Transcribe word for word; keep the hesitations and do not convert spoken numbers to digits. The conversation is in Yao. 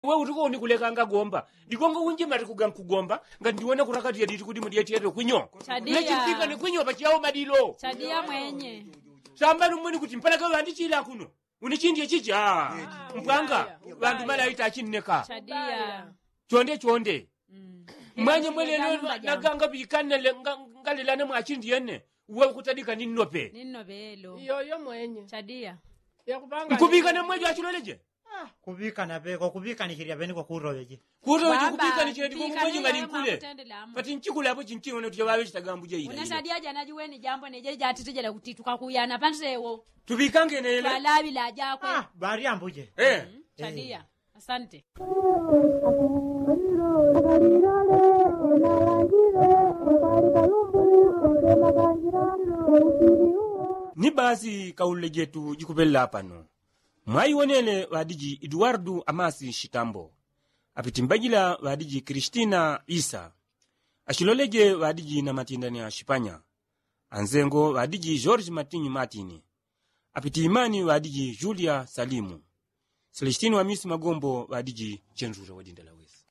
Uwe utuko unikulekanga gomba digongo unjimati kugankugomba. Nga ndiwona kurakati yaditi kuti mudyetyetwe kwinyo. Chadia. Nechimpikane kwinyo pachiyawo madilo. Chadia mwenye. Sambani umweni kuti mpalaka wandichila kuno unichindye chicha. Mpwanga. Wandu malaita achinneka. Chadia. Chonde chonde. Mwenye mwene lelo naganga pikane ngalelane mwachindye ne. Uwe kutadika ninnope. Ninnope elo. Iyoyo mwenye. Chadia. Nkupikane mwejo achiloleje. Kuŵikana peko kuŵikanichilya peni kwakutoŵeje. Kutoŵeje kuŵikanichilya ndiko kuŵeje ngani nkule. Pati nchikule apo chinching'ono tuchaŵaŵe chitagambu jaila. Unasadiaja najuweni jambo nejeja atitijela kuti tukakuyana pansewo. Tuŵikangene ile. Twalaŵila ajakwe. Bali ambuje. Chadia. Asante. Ni basi kaulule jetu jikupelela pano. Mwaiwonele ŵadiji eduwardu amasi shitambo, apitimbajila ŵadiji kristina isa, ashiloleje ŵadiji na matindani ashipanya, anzengo ŵadiji george matinyi matini, apitiimani ŵadiji julia salimu, selestini wamisi magombo ŵadiji chenjule wadindala wesi.